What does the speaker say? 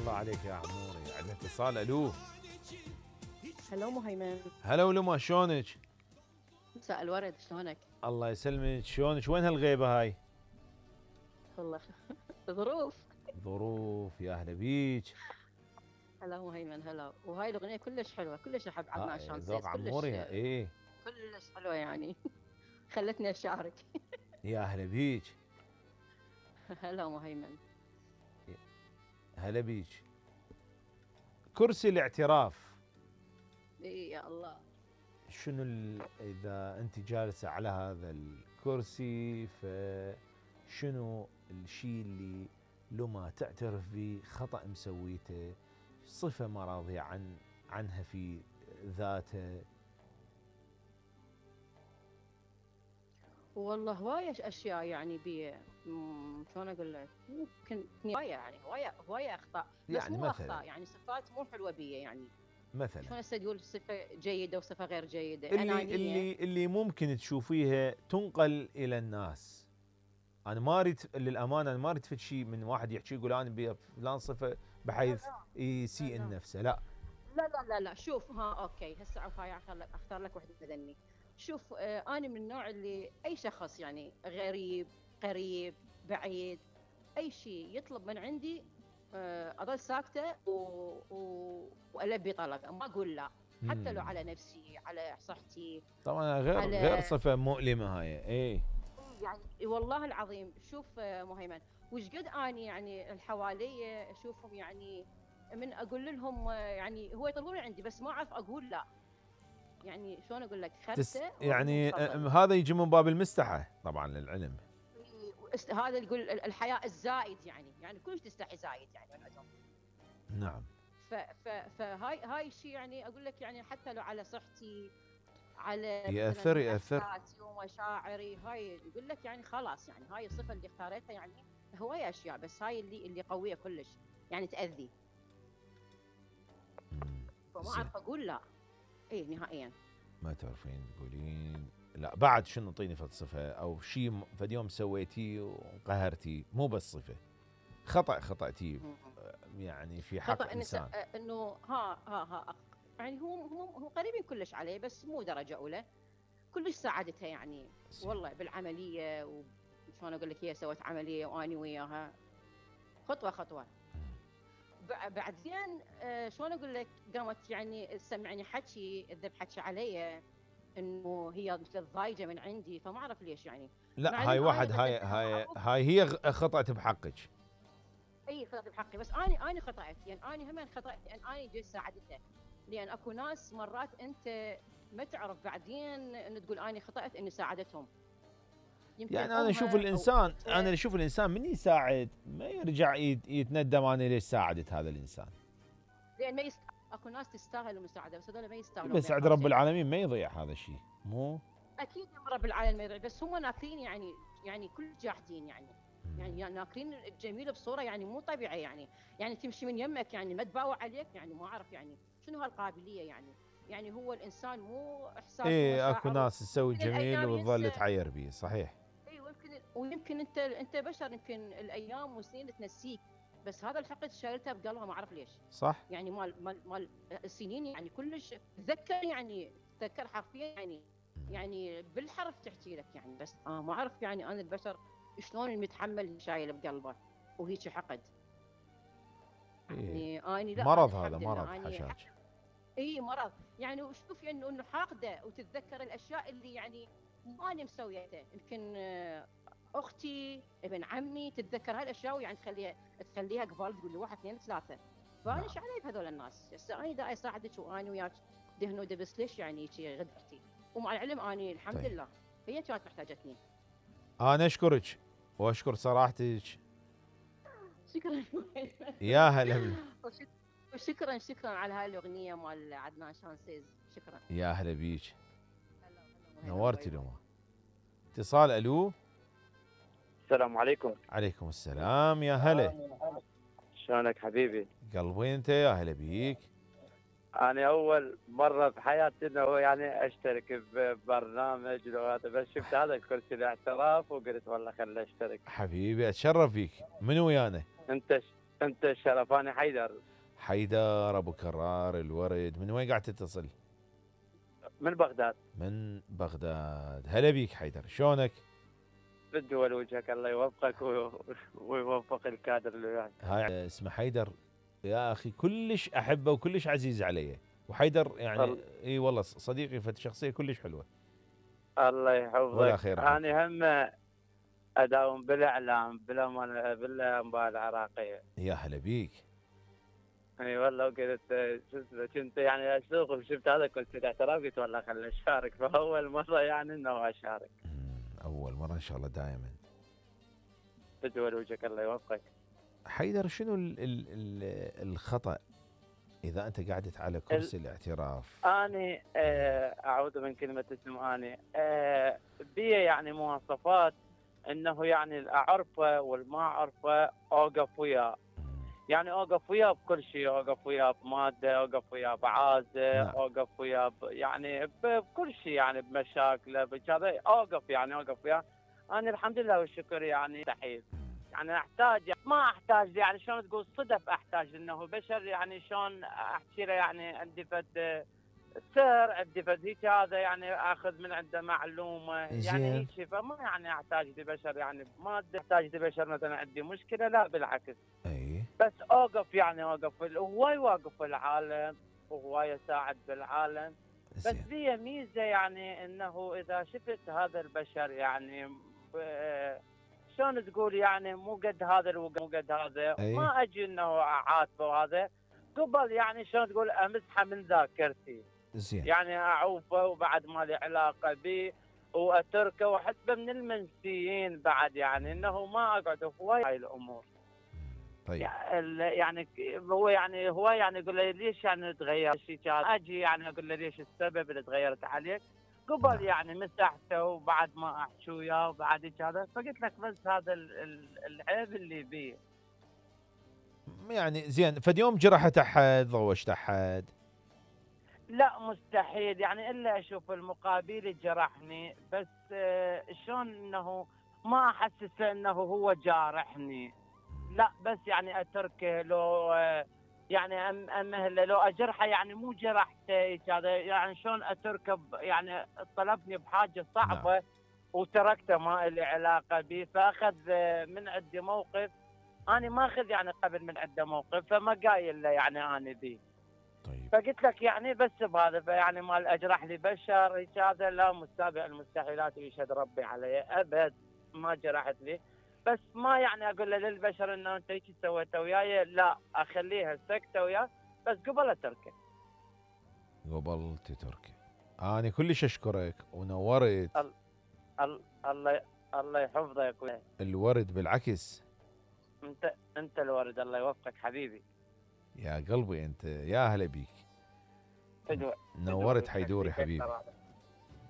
الله عليك يا عموري. عندنا اتصال. الو. هلو مهيمن. هلا ولما، شلونك؟ مساء الورد، شلونك؟ الله يسلمك، شلونك؟ وين هالغيبه هاي؟ والله ظروف. ظروف، يا اهلا بيك. هلا مهيمن، هلا. وهاي الاغنيه كلش حلوه، كلش احب عدنان شانسيز، ذوق عموري. ايه كلش حلوه يعني. خلتني اشارك. يا اهلا بيك. هلا مهيمن. هلا بيك. كرسي الاعتراف. اي يا الله. شنو اذا انت جالسه على هذا الكرسي، فشنو الشيء اللي لو ما تعترف به خطأ مسويته، صفة ما راضية عنها في ذاته؟ والله هواية اشياء يعني شلون اقول لك، ممكن هواية يعني هواية اخطاء، بس يعني مو مثلاً اخطاء يعني صفات مو حلوة بي يعني. مثلا شلون هسه تقول صفة جيدة وصفة غير جيدة؟ اللي أنانية. اللي ممكن تشوفيها تنقل الى الناس. انا ما اريد للامانه، انا ما اريد فد شيء من واحد يحكي يقول انا بفلان صفه بحيث يسيء النفس. لا لا لا لا لا، شوف، اوكي، هسه هاي اختار لك وحده بدني. شوف، انا من النوع اللي اي شخص يعني غريب، قريب، بعيد، اي شيء يطلب من عندي، اضل ساكته والبي طلبه، ما اقول لا، حتى لو على نفسي، على صحتي. طبعا غير على صفه مؤلمه هاي. ايه يعني والله العظيم. شوف مهيمن، وش قد اني يعني الحواليه اشوفهم يعني من اقول لهم يعني هو يطلبون عندي بس ما اعرف اقول لا. يعني شلون اقول لك، خرته واقول لهم يعني تفضل. هذا يجي من باب المستحى طبعا للعلم. هذا يقول الحياء الزايد يعني كلش تستحي زايد يعني من عندهم. نعم. فهاي الشيء يعني اقول لك يعني حتى لو على صحتي، على يأثر. مثلا احساسي ومشاعري، هاي يقول لك يعني خلاص يعني هاي الصفه اللي اختاريتها يعني هواية اشياء، بس هاي اللي قويه كلش يعني تاذي، فما زين. اعرف اقول لا. اي نهائيا. ما تعرفين تقولين لا بعد شنو؟ اعطيني فلسفه او شيء فد يوم سويتيه وقهرتي، مو بس صفه، خطأتيه يعني في حق خطا انسان. انه يعني هو قريبين كلش عليه بس مو درجه اولى، كلش ساعدتها يعني. والله بالعمليه، وشلون اقول لك، هي سوت عمليه واني وياها خطوه خطوه. بعدين شلون اقول لك، قامت يعني تسمعني حكي، تذب حكي علي انه هي مثل ضايجه من عندي، فما اعرف ليش يعني. لا مع هاي ان واحد، انا هاي هي خطأت بحقك. اي خطأت بحقي، بس انا خطأت يعني، انا هم خطأت لان انا جيت ساعدتها. لان اكو ناس مرات انت ما تعرف بعدين ان تقول انا خطأت اني ساعدتهم. يمكن يعني انا اشوف امها او الانسان، اختها. من يساعد ما يرجع يتندم انا ليش ساعدت هذا الانسان. لان ما اكو ناس تستاهل المساعده، بس هذول ما يستاهلون بس ما عند يعطون رب شيء. العالمين ما يضيع هذا الشيء، مو اكيد يا رب العالمين ما يضيع، بس هم ناكرين يعني كل جاحدين يعني ناكرين الجميل بصوره يعني مو طبيعيه يعني تمشي من يمك يعني ما تباوع عليك يعني، ما اعرف يعني شنو هالقابليه يعني هو الانسان مو احساسه ايه اكو ومشاعره. ناس تسوي يمكن جميل الايام وتظل ينسى. تعير به. صحيح. اي ويمكن انت بشر، يمكن الايام والسنين تنسيك، بس هذا الحقد شايلته بقلبها ما اعرف ليش. صح. يعني مال السنين يعني كلش تذكر يعني، تذكر حرفيا يعني بالحرف تحكي لك يعني، بس ما اعرف يعني انا البشر شلون المتحمل شايل بقلبه وهيك حقد. إيه. يعني اني لا، أنا مرض، هذا الحمد مرض لله اني حشاش. اي مرض يعني. وشوف يعني انه حاقده وتتذكر الاشياء اللي يعني ما انا مسويتها. يمكن اختي، ابن عمي، تتذكر هالاشياء ويعني تخليها قبال، تقول لي واحد اثنين ثلاثه. فانا نعم. ايش علي بهذول الناس؟ هسه انا دا اساعدك وانا وياك دهن ودبس، ليش يعني هيك غدرتي؟ ومع العلم اني الحمد طيب. لله هي كانت محتاجتني. انا اشكرك واشكر صراحتك. شكرا. يا هلا وشكرا على هاي الاغنيه مال عدنان شانسيز. شكرا. يا هلا بيك. هلا نورتي باي باي. لما. اتصال. الو. السلام عليكم. عليكم السلام. يا هلا. شلونك حبيبي؟ قلبي انت. يا هلا بيك. أنا أول مرة بحياتي إنه يعني أشترك ببرنامج وهذا، بس شفت هذا الكرسي الاعتراف وقلت والله خليني أشترك. حبيبي اتشرف فيك. من ويانا؟ أنت انت الشرف، انا حيدر حيدر ابو كرار الورد، من وين قاعد تتصل؟ من بغداد. من بغداد. هلا بيك حيدر، شلونك؟ بالدول وجهك، الله يوفقك ويوفق الكادر اللي وياك. هاي اسمه حيدر يا اخي، كلش احبه وكلش عزيز علي، وحيدر يعني اي والله صديقي، شخصيه كلش حلوه. الله يحفظك. ولا خير. انا هم اداوم بالاعلام بالانباء العراقيه. يا هلا بيك. اي والله، وقلت شو اسمه، كنت يعني اسوق وشفت هذا كنت اعتراف، قلت والله خليني اشارك، فاول مره يعني انه اشارك. اول مره ان شاء الله دائما. بدول وجهك، الله يوفقك. حيدر، شنو الخطأ اذا انت قعدت على كرسي الاعتراف؟ اني اعوذ من كلمه اسم اني بي يعني مواصفات انه يعني الاعرفه والما اعرفه اوقف وياه. يعني اوقف وياه بكل شيء، اوقف وياه بماده، اوقف وياه بعازه، نعم. اوقف وياه يعني بكل شيء، يعني بمشاكله بكذا اوقف، يعني اوقف وياه. انا الحمد لله والشكر يعني مستحيل، يعني احتاج، ما احتاج، يعني شلون تقول صدف احتاج انه بشر، يعني شلون احكي له، يعني عندي فد سر، عندي فد هيك، هذا يعني اخذ من عنده معلومه، يعني هيك، فما يعني احتاج لبشر، يعني ما احتاج لبشر مثلا عندي مشكله، لا بالعكس. اي بس اوقف، يعني اوقف، هواي واقف العالم وهواي يساعد بالعالم. بس لي ميزه، يعني انه اذا شفت هذا البشر يعني شلون تقول، يعني مو قد هذا الوقت، مو قد هذا، ما اجي انه اعاتبه وهذا، قبل يعني شلون تقول امسحه من ذاكرتي. زين. يعني اعوفه وبعد ما لي علاقه به واتركه، وحتى من المنسيين بعد، يعني انه ما اقعد هواي هاي الامور. طيب. يعني هو يعني يقول لي ليش يعني تغير شيء، اجي يعني اقول له ليش السبب اللي تغيرت عليك، قبل يعني مسحته وبعد ما احكي وياه وبعد هذا، فقلت لك بس هذا العيب اللي بيه. يعني زين، فاليوم جرحت احد، ضوجت احد؟ لا مستحيل، يعني الا اشوف المقابل جرحني، بس شلون انه ما احسسه انه هو جارحني، لا بس يعني اتركه، لو يعني امهله، لو اجرحه يعني مو جرحته هذا، يعني شلون اتركه، يعني طلبني بحاجه صعبه. نعم. وتركته ما لي علاقه به، فاخذ من عندي موقف، انا ما اخذ يعني قبل من عنده موقف، فما قايل له يعني انا به. طيب. فقلت لك يعني بس بهذا، فيعني مال اجرح لي بشر هذا، لا، مستابع المستحيلات ويشهد ربي علي، ابد ما جرحت لي. بس ما يعني اقول له للبشر انه انت هيك سويته وياي، لا، اخليها سكته وياه، بس قبل اتركه. قبل تتركه. انا كلش اشكرك ونورت. الله يحفظك. الورد بالعكس. انت الورد، الله يوفقك حبيبي. يا قلبي انت، يا هلا بيك. نورت حيدوري حبيبي.